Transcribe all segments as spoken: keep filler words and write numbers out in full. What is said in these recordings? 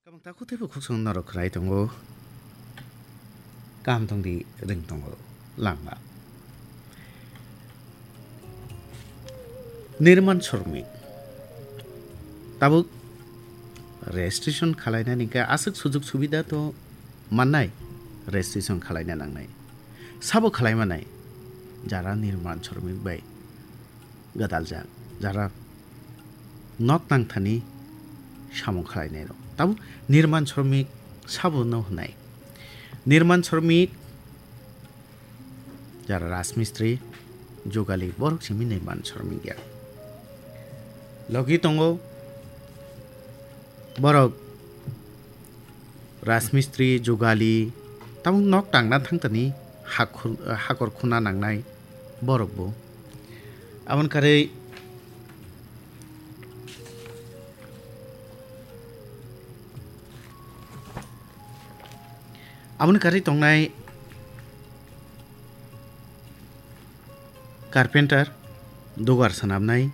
Kabang takhuk teibo khuk song norok khwnai tongo. Kaham tongdi ring tongo langma. Nirman Sromik. Tabuk registration khalainani khe aswk sujug subida to mannai, registration khalaina nangnai. Sabo khalaimanai jara Nirman Sromik bai gwdaljak, jara nok tangthani samung khalainairok. Tabuk Nirman Sromik sabono hwnai. Nirman Sromik jara rajmistri, jugali, borok simi Nirman Sromik ya. Logi tongo borok rajmistri, jugali, tabuk nok tangna thangtani hakhur-, hakor khuna nangnai borokbo. Aboni karwi, aboni karwi tongnai carpenter, dugar swnamnai,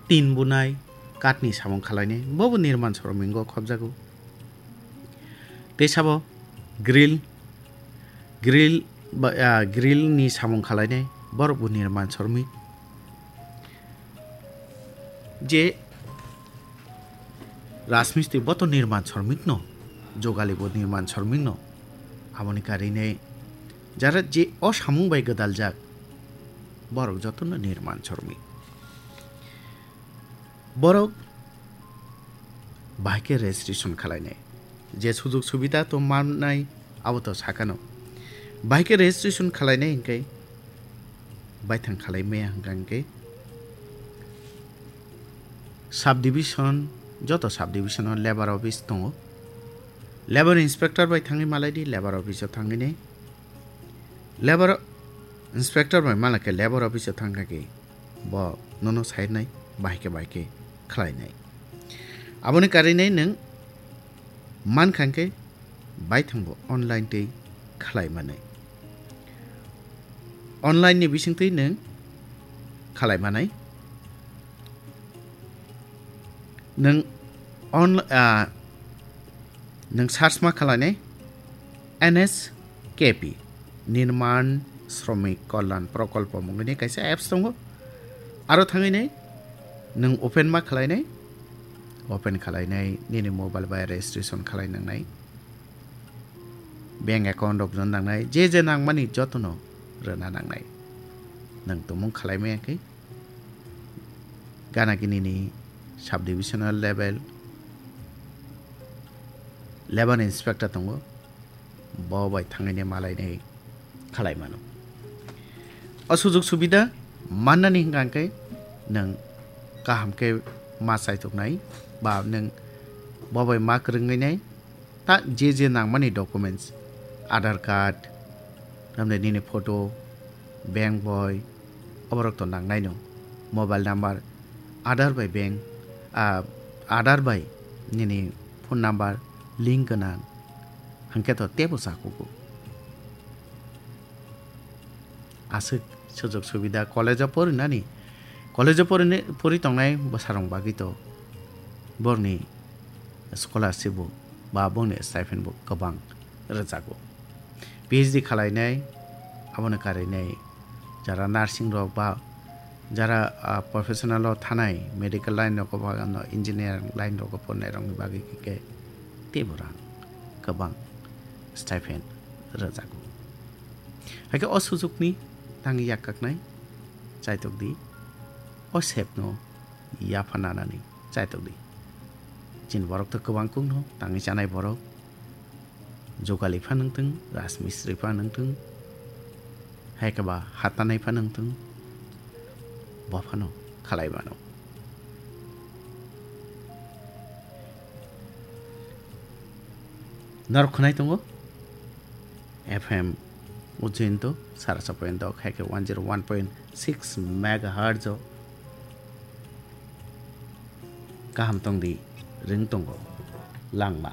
tin bunai, kathni samung khalainai, bobo Nirman Sromingo khobjago. Tei sabo grill, grill ba, ah, grill ni samung khalainai, borok bo Nirman Sromik. Je rajmistri bo to Nirman Sromik no, jogali bo Nirman Sromik no. Aboni karinai jara je o samung bai gwdaljak, borok jotono Nirman Sromik. Borok bahai khe registration khalainai. Je sujug subida to mannai, abo to sakano. Bahai khe registration khalainai hwnkhe, baithang khalai maya hwnkha hwnkhe, subdivision, joto subdivision o labour office tongo. Labour inspector bai thangwi malai di, labour office o thangwi nai. Labour inspector bai malai khe labour office o thangkha khe bo nono sainai, bahai khe bahai khe khlainai. Aboni karinai nwng mankha khe baithangbo online tei khlai manai. Online ni bisingtwi nwng khlai manai. Nwng on-, ah, nwng search ma khlainai N S K P, Nirman Shromik Kalyan Prokolpo mungwini kaisa apps tongo. Aro thangwinai nwng open ma khlainai, open khlainai nini mobile bai registration khlai nangnai, bank account rok rwna nangnai, je je nangmani jotono rwna nangnai. Nwng tumung khlai maya khe gana gini ni subdivisional level labour inspector tongo, bo bai thangwini malainai khlai mano. O sujug subida mannani hwnkha hwnkhe nwng kaham khe ma chaituknai ba nwng bo bai ma kwrwngwi nai. Ta je je nangmani documents, Aadhaar card, tamni nini photo, bank boi, oborok to nangnaino. Mobile number, Aadhaar bai bank, ah, Aadhaar bai nini phone number link gwnang, hwnkhe to teibo chakugo. Aswk sujog subida college o porinani, college o porini, pori tongnai bwsarok bagwi to borokni scholarship bo ba bongni stipend bo kwbang rwjago. P H D khwlainai, aboni karinai jara nursing rok ba jara, ah, professional o thanai, medical line rogo ba engineering line rogo pornai rokni bagwi khe teibo rang kwbang stipend rwjago. Hai khe o sujukni tangwi yakkaknai chaitok di, o sepno yapha nanani chaitok di. Chini borok to kwbang kukno tangwi chanai borok, jogali pha nungthung, rajmistri pha nungthung, hai khe ba hatanai pha nungthung, bo phano khalai mano. Norok khwnai tongo F M Ujjain to sara sa point dok hai khe one zero one point six megahertz o kaham tong di ring tongo langma.